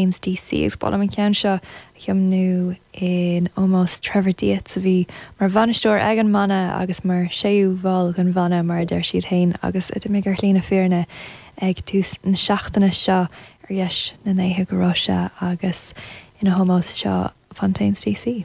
DC agus ba mhaith liom an ceann seo a thiomnú in ómós Trevor Dietz a bhí mar bhainisteoir ag an mbanna agus mar séú bhall den bhanna mar a deir siad féin agus a d'imigh ar shlí na fírinne ag tús na seachtaine seo ar dheis na ndéithe go raibh sé agus ina hómós seo Fontaines DC.